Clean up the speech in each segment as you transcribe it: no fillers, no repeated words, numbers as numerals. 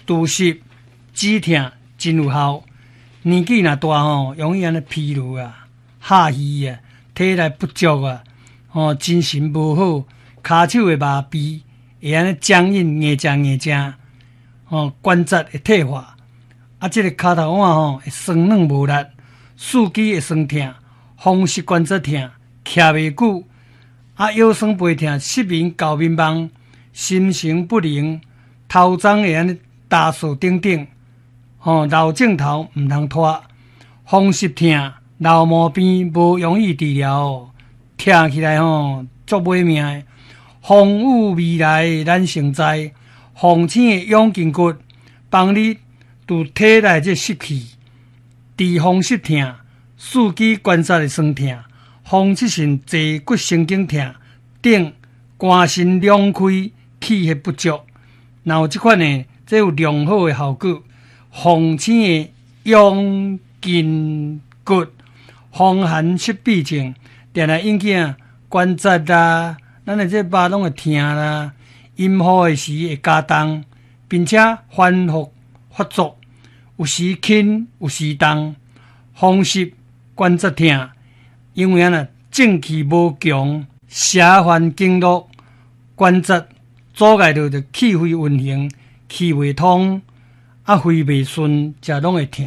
除濕止疼真有效。年紀若大吼，容易按呢疲勞啊、下虛啊、體力不足啊，吼，精神無好，跤手會麻痹，會按呢僵硬硬正硬正，吼，關節會退化。啊，這個跤頭腕吼會酸軟無力，四肢會酸疼，風濕關節疼，徛袂久，啊，腰酸背疼、失眠、搞眠夢、心神不寧、頭鬃會按呢焦燥等等，吼，老症頭毋通拖，風濕疼、老毛病無容易治療，疼起來吼足欲命的。風雨未來咱先知，鳳青的養筋骨幫你除體內這濕氣，治風濕疼、四肢關節的酸疼、風濕性坐骨神經疼等，肝腎兩虧、氣血不足，若有這款的，這有良好的效果。鳳青的養筋骨，風寒濕痹症，定定引起啊關節啦，咱的這肉攏會疼啦，陰雨的時會加重，並且反覆發作，有時輕有時重，風濕關節疼，因為按呢正氣無強，邪犯經絡關節阻礙著就氣血運行，氣袂通，啊肺袂順，才攏會疼。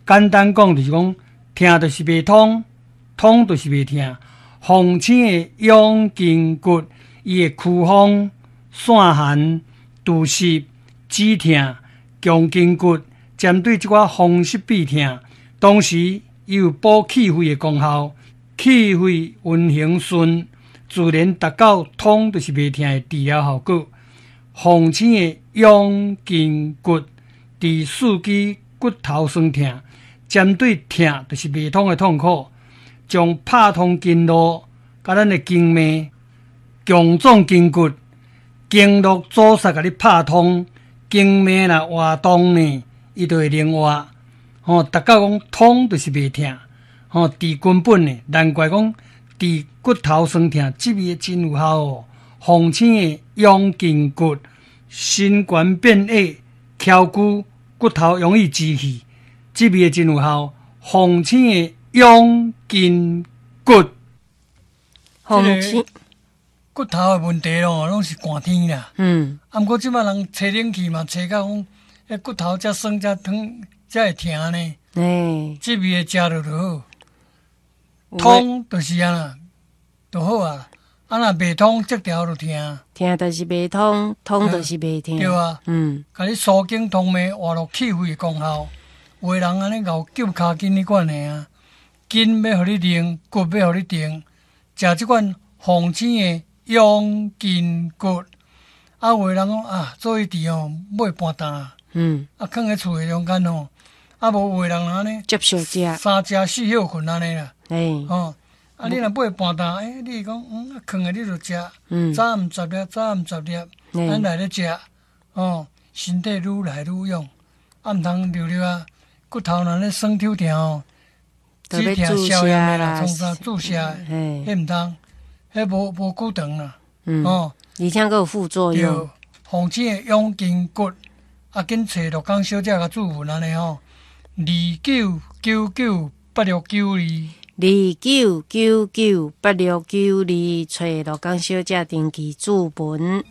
簡單講就是講，疼就是袂通，通就是袂疼。鳳青的養筋骨，伊會驅風、散寒、除濕、止疼、強筋骨，針對這寡風濕痹疼，同時伊有補氣血的功效，氣血運行順，自然達到通就是袂疼的治療效果。鳳青的養筋骨，治四肢骨頭酸疼，針對疼就是袂通的痛苦，將拍通經絡，佮咱的經脈，強壯筋骨，經絡阻塞共你拍通，經脈若活動呢，伊就會靈活。吼，達到講通就是袂疼，吼，治根本的，難怪講治骨頭酸疼，這味真有效哦。鳳青的養筋骨，身懸變矮，翹骨骨頭容易支氣，這味真有效。鳳青的養筋骨，鳳青骨頭的問題咯，攏是寒天啦。啊，毋過這擺人吹冷氣嘛，吹到講，彼骨頭才酸才疼才會疼呢。這味的食落就好，通就是按呢，就好啊。啊，若袂通，這條就疼。疼就是袂通，通就是袂疼。對啊。共你疏經通脈、活絡氣血的功效。有的人按呢𠢕揪跤筋彼款的啊，筋欲予你靈，骨欲予你定，食這款鳳青的養筋骨。啊，有的人講啊，做伊治吼，買半擔。啊，囥佇厝的中間吼，啊，無有的人按呢，接受食。三食四歇睏按呢啦。吼，啊，你若買半擔，欸，你講，啊，囥的你就食，早暗十粒，早暗十粒，咱來咧食，吼，身體愈來愈勇，啊，毋通留留啊，骨頭若咧酸抽疼吼，止疼消炎的啦，創啥注射的，彼毋通，彼無久長啦，吼。而且閣有副作用。對，鳳青的養筋骨，啊，緊揣鹿港小姐共注文按呢吼，29998692。29998692，揣鹿港小姐登記注文。